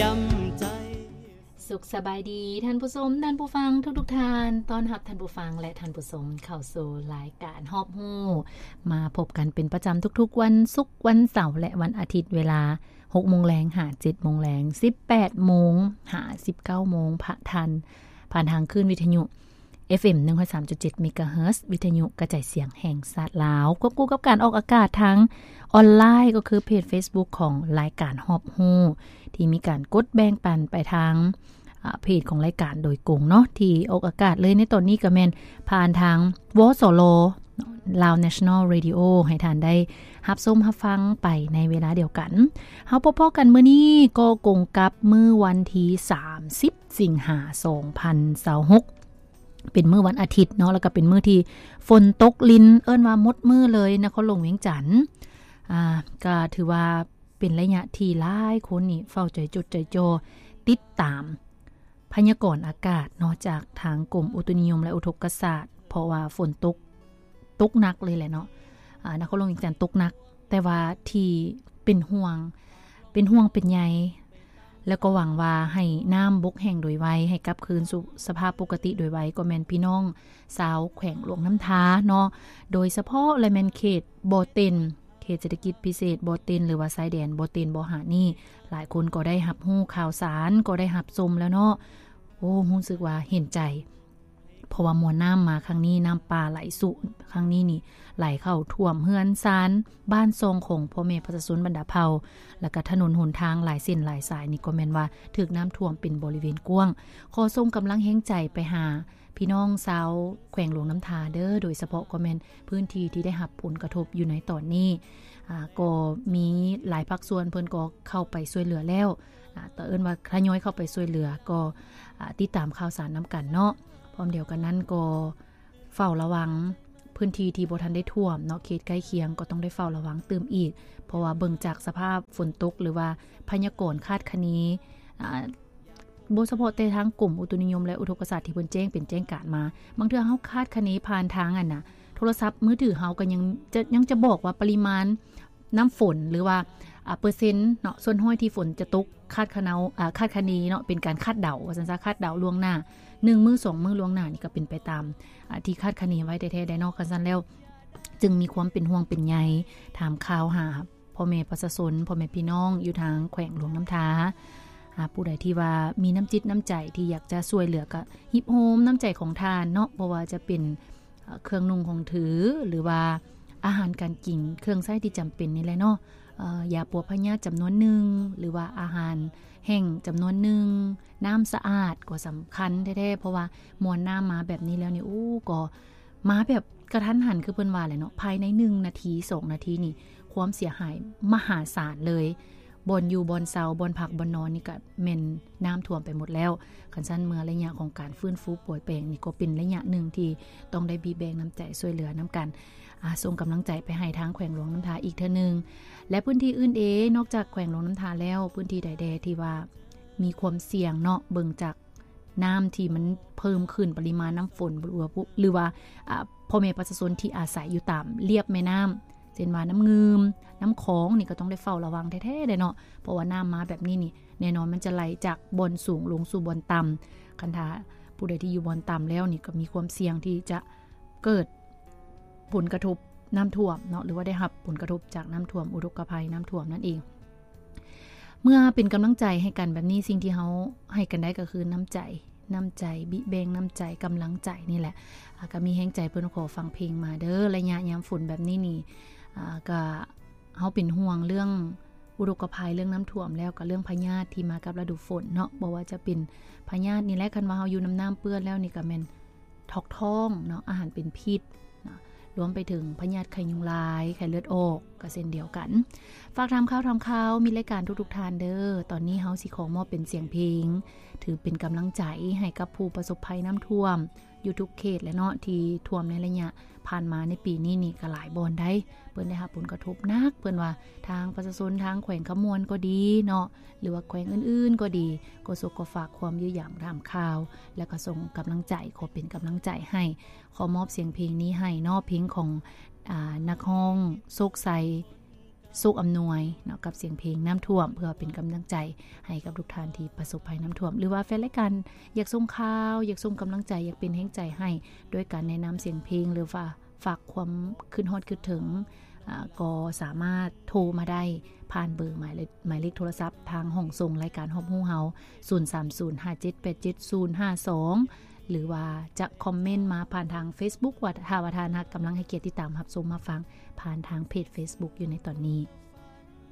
ຍາມໃຈ. ສຸກສະບາຍດີທ່ານຜູ້ຊົມ, ທ່ານຜູ້ຟັງທຸກໆທ່ານ. ຕ້ອນຮັບທ່ານຜູ້ຟັງ ແລະ ທ່ານຜູ້ຊົມເຂົ້າສູ່ລາຍການຮອບຮູ້, ມາພົບກັນເປັນປະຈຳທຸກໆວັນສຸກ, ວັນເສົາ ແລະ ວັນອາທິດ ເວລາຫົກໂມງແລງຫາເຈັດໂມງແລງ, ສິບແປດໂມງຫາສິບເກົ້າໂມງ ຜ່ານທາງ ຜ່ານທາງຄື້ນວິທະຍຸ ເອັຟເອັມ ໜຶ່ງຮ້ອຍສາມຈຸດເຈັດ ເມກາເຮີດ ວິທະຍຸກະຈາຍສຽງແຫ່ງຊາດລາວ, ຄວບຄູ່ກັບການອອກອາກາດທາງອອນລາຍ ກໍຄືເພຈເຟສບຸກຂອງລາຍການຮອບຮູ້ ທີ່ມີການກົດແບ່ງປັນໄປທາງ ອາ ເພຈຂອງລາຍການໂດຍກົງເນາະ, ທີ່ອອກອາກາດເລີຍໃນຕອນນີ້ກໍແມ່ນຜ່ານທາງ ວສລ Lao National Radio ໃຫ້ທ່ານໄດ້ຮັບຊົມຮັບຟັງໄປໃນເວລາດຽວກັນ. ເຮົາພົບພໍ້ກັນມື້ນີ້ກໍກົງກັບມື້ວັນທີສາມສິບ ສິງຫາ ສອງພັນຊາວຫົກ ເປັນມື້ວັນອາທິດເນາະ, ແລ້ວກໍເປັນມື້ທີ່ຝົນຕົກລິນ ເອີ້ນວ່າໝົດມື້ເລີຍ ນະຄອນຫຼວງວຽງຈັນ. ອາ ກໍຖືວ່າເປັນໄລຍະທີ່ຫຼາຍຄົນນີ້ເຝົ້າໃຈຈົດໃຈຈ່ອ ຕິດຕາມພະຍາກອນອາກາດເນາະ ຈາກທາງກົມອຸຕຸນິຍົມ ແລະ ອຸທົກກະສາດ, ເພາະວ່າຝົນຕົກ ຕົກໜັກເລີຍແຫຼະເນາະ. ອາ ນະຄອນຫຼວງວຽງຈັນຕົກໜັກ, ແຕ່ວ່າທີ່ເປັນຫ່ວງ ເປັນຫ່ວງເປັນໃຍ ແລ້ວກໍຫວັງວ່າໃຫ້ນ້ຳບົກແຫ້ງໂດຍໄວ, ໃຫ້ກັບຄືນສູ່ສະພາບປົກກະຕິໂດຍໄວ ກໍແມ່ນພີ່ນ້ອງຊາວແຂວງຫຼວງນ້ຳທາເນາະ, ໂດຍສະເພາະແລະແມ່ນເຂດບໍ່ເຕັນ, ເຂດເສດຖະກິດພິເສດບໍ່ເຕັນ ຫຼືວ່າຊາຍແດນບໍ່ເຕັນ ບໍ່ຫາດນີ້, ຫຼາຍຄົນກໍໄດ້ຮັບຮູ້ຂ່າວສານ, ກໍໄດ້ຮັບຊົມແລ້ວເນາະ. ໂອ້ ຮູ້ສຶກວ່າເຫັນໃຈ. ເພາະວ່າມວນນ້ຳມາຄັ້ງນີ້ ນ້ຳປ່າໄຫຼຊຸຄັ້ງນີ້ນີ້ ໄຫຼເຂົ້າຖ້ວມເຮືອນຊານບ້ານຊ່ອງຂອງພໍ່ແມ່ປະຊາຊົນບັນດາເຜົ່າ, ແລ້ວກະຖະໜົນຫົນທາງຫຼາຍເສັ້ນຫຼາຍສາຍນີ້ ກໍແມ່ນວ່າຖືກນ້ຳຖ້ວມເປັນບໍລິເວນກວ້າງ. ຂໍສົ່ງກຳລັງແຮງໃຈໄປຫາພີ່ນ້ອງຊາວແຂວງຫຼວງນ້ຳທາເດີ້, ໂດຍສະເພາະກໍແມ່ນພື້ນທີ່ທີ່ໄດ້ຮັບຜົນກະທົບຢູ່ໃນຕອນນີ້. ອາ ກໍມີຫຼາຍພາກສ່ວນເພິ່ນກໍເຂົ້າໄປຊ່ວຍເຫຼືອແລ້ວ, ອາ ກໍເອີ້ນວ່າທະຍອຍເຂົ້າໄປຊ່ວຍເຫຼືອ, ກໍ ອາ ຕິດຕາມຂ່າວສານນຳກັນເນາະ. ພ້ອມດຽວກັນນັ້ນກໍເຝົ້າລະວັງພື້ນທີ່ທີ່ບໍ່ທັນໄດ້ຖ້ວມເນາະ, ເຂດໃກ້ຄຽງກໍຕ້ອງໄດ້ເຝົ້າລະວັງຕື່ມອີກ, ເພາະວ່າເບິ່ງຈາກສະພາບຝົນຕົກ ຫຼືວ່າພະຍາກອນຄາດຄະເນ, ອາ ບໍ່ສະເພາະແຕ່ທາງກົມອຸຕຸນິຍົມ ແລະ ອຸທົກກະສາດທີ່ເພິ່ນແຈ້ງເປັນແຈ້ງການມາ, ບາງເທື່ອເຮົາຄາດຄະເນຜ່ານທາງ ອັນນະ ໂທລະສັບມືຖືເຮົາກໍຍັງຈະ ຍັງຈະບອກວ່າປະລິມານ ນ້ຳຝົນ ຫຼືວ່າ ອາ ເປີເຊັນເນາະ ສ່ວນຮ້ອຍທີ່ຝົນຈະຕົກ ຄາດຄະເນາ ອາ ຄາດຄະເນເນາະ ເປັນການຄາດເດົາວ່າຊັ້ນຊະ, ຄາດເດົາລ່ວງໜ້າໜຶ່ງມື້ສອງມື້ລ່ວງໜ້ານີ້ ກໍເປັນໄປຕາມ ອາ ທີ່ຄາດຄະເນໄວ້ແທ້ໆໄດ໋ເນາະ. ຄັນຊັ້ນແລ້ວ ຈຶ່ງມີຄວາມເປັນຫ່ວງເປັນໃຍ ຖາມຂ່າວຫາພໍ່ແມ່ປະຊາຊົນ ພໍ່ແມ່ພີ່ນ້ອງຢູ່ທາງແຂວງຫຼວງນ້ຳທາ. ອາ ຜູ້ໃດທີ່ວ່າມີນ້ຳຈິດນ້ຳໃຈທີ່ຢາກຈະຊ່ວຍເຫຼືອ ກໍຮີບໂຮມນ້ຳໃຈຂອງທ່ານເນາະ, ບໍ່ວ່າຈະເປັນ ເອີ ເຄື່ອງນຸ່ງຂອງຖື ຫຼືວ່າອາຫານການກິນ ເຄື່ອງໃຊ້ທີ່ຈຳເປັນນີ້ແຫຼະເນາະ, ເອີ ຢາປົວພະຍາດຈຳນວນໜຶ່ງ ຫຼືວ່າອາຫານແຫ້ງຈຳນວນໜຶ່ງ, ນ້ຳສະອາດກໍສຳຄັນແທ້ໆ, ເພາະວ່າມວນນ້ຳມາແບບນີ້ແລ້ວນີ້ ໂອ້ ກໍມາແບບກະທັນຫັນ ຄືເພິ່ນວ່າແຫຼະເນາະ, ພາຍໃນໜຶ່ງນາທີ ສອງນາທີນີ້ ຄວາມເສຍຫາຍມະຫາສານເລີຍ. ບ່ອນຢູ່ບ່ອນເຊົາ ບ່ອນພັກບ່ອນນອນນີ້ກະແມ່ນນ້ຳຖ້ວມໄປໝົດແລ້ວ. ຄັນຊັ້ນເມື່ອໄລຍະຂອງການຟື້ນຟູປ່ວຍແປງນີ້ ກໍເປັນໄລຍະໜຶ່ງທີ່ຕ້ອງໄດ້ບີແບ່ງນ້ຳໃຈຊ່ວຍເຫຼືອນຳກັນ. ອາ ສົ່ງກຳລັງໃຈໄປໃຫ້ທາງແຂວງຫຼວງນ້ຳທາອີກເທື່ອໜຶ່ງ ແລະ ພື້ນທີ່ອື່ນເດ ນອກຈາກແຂວງຫຼວງນ້ຳທາແລ້ວ ພື້ນທີ່ໃດແດ່ທີ່ວ່າມີຄວາມສ່ຽງເນາະ ເບິ່ງຈາກ ນ້ຳທີ່ມັນເພີ່ມຂຶ້ນ ປະລິມານນ້ຳຝົນ ຫຼືວ່າ ຫຼືວ່າ ອາ ພໍ່ແມ່ປະຊາຊົນທີ່ອາໄສຢູ່ຕາມລຽບແມ່ນ້ຳ ເຊັ່ນວ່ານ້ຳງື່ມ ນ້ຳຂອງນີ້ ກໍຕ້ອງໄດ້ເຝົ້າລະວັງແທ້ໆເດ້ເນາະ, ເພາະວ່ານ້ຳມາແບບນີ້ນີ້ ແນ່ນອນມັນຈະໄຫຼຈາກບ່ອນສູງລົງສູ່ບ່ອນຕ່ຳ. ຄັນຖ້າຜູ້ໃດທີ່ຢູ່ບ່ອນຕ່ຳແລ້ວນີ້ ກໍມີຄວາມສ່ຽງທີ່ຈະເກີດ ຜົນກະທົບນ້ຳຖ້ວມເນາະ ຫຼືວ່າໄດ້ຮັບຜົນກະທົບຈາກນ້ຳຖ້ວມ ອຸທົກກະໄພນ້ຳຖ້ວມນັ້ນເອງ. ເມື່ອເປັນກຳລັງໃຈໃຫ້ກັນແບບນີ້ ສິ່ງທີ່ເຮົາໃຫ້ກັນໄດ້ກໍຄືນ້ຳໃຈ, ນ້ຳໃຈ, ບິແບ່ງນ້ຳໃຈ, ກຳລັງໃຈນີ້ແຫຼະ. ອາ ກໍມີແຮງໃຈເພິ່ນຂໍຟັງເພງມາເດີ້. ໄລຍະຍາມຝົນແບບນີ້ນີ້ ອາ ກໍເຮົາເປັນຫ່ວງເລື່ອງອຸທົກກະໄພ ເລື່ອງນ້ຳຖ້ວມ ແລ້ວກໍເລື່ອງພະຍາດທີ່ມາກັບລະດູຝົນເນາະ, ບໍ່ວ່າຈະເປັນພະຍາດນີ້ແຫຼະ, ຄັນວ່າເຮົາຢູ່ນຳນ້ຳເປື້ອນແລ້ວນີ້ ກໍແມ່ນ ຖອກທ້ອງເນາະ, ອາຫານເປັນພິດເນາະ, ລວມໄປເຖິງພະຍາດໄຂ້ຍຸງລາຍ, ໄຂ້ເລືອດອອກ ກໍເຊັ່ນດຽວກັນ. ຝາກຖາມຂ່າວ, ຖາມຂ່າວ ມິດລາຍການທຸກໆທ່ານເດີ້. ຕອນນີ້ເຮົາຊິຂໍມອບເປັນສຽງເພງ ຖືເປັນກຳລັງໃຈໃຫ້ກັບຜູ້ປະສົບໄພນ້ຳຖ້ວມຢູ່ທຸກເຂດແຫຼະເນາະ, ທີ່ຖ້ວມໃນໄລຍະຜ່ານມາໃນປີນີ້ນີ້ກໍຫຼາຍບ່ອນໃດ໋ ເພິ່ນໄດ້ຮັບຜົນກະທົບໜັກ. ເພິ່ນວ່າທາງປະຊາຊົນທາງແຂວງຄຳມ່ວນກໍດີເນາະ, ຫຼືວ່າແຂວງອື່ນໆກໍດີ ກໍສົກກໍຝາກຄວາມຢູ່ຢາມຖາມຂ່າວ ແລ້ວກໍສົ່ງກຳລັງໃຈ, ຂໍເປັນກຳລັງໃຈໃຫ້. ຂໍມອບສຽງເພງນີ້ໃຫ້ເນາະ, ເພງຂອງ ອາ ນັກຮ້ອງໂຊກໄຊ ໂຊກອຳນວຍເນາະ ກັບສຽງເພງນ້ຳຖ້ວມ ເພື່ອເປັນກຳລັງໃຈໃຫ້ກັບທຸກທ່ານທີ່ປະສົບໄພນ້ຳຖ້ວມ ຫຼືວ່າແຟນລາຍການຢາກສົ່ງຂ່າວ ຢາກສົ່ງກຳລັງໃຈ ຢາກເປັນແຮງໃຈໃຫ້ ດ້ວຍການແນະນຳສຽງເພງ ຫຼືວ່າຝາກຄວາມຄິດຮອດຄິດເຖິງ ອາ ກໍສາມາດໂທມາໄດ້ຜ່ານເບີໝາຍເລກ ໝາຍເລກໂທລະສັບທາງຫ້ອງສົ່ງລາຍການຮອບຮູ້ເຮົາ ສູນສາມສູນຫ້າເຈັດແປດເຈັດສູນຫ້າສອງ ຫຼືວ່າຈະຄອມເມັນມາຜ່ານທາງເຟສບຸກ ວ່າ ຖ້າວ່າທ່ານຮັກ ກຳລັງໃຫ້ກຽດຕິດຕາມຮັບຊົມຮັບຟັງຜ່ານທາງເພຈເຟສບຸກຢູ່ໃນຕອນນີ້.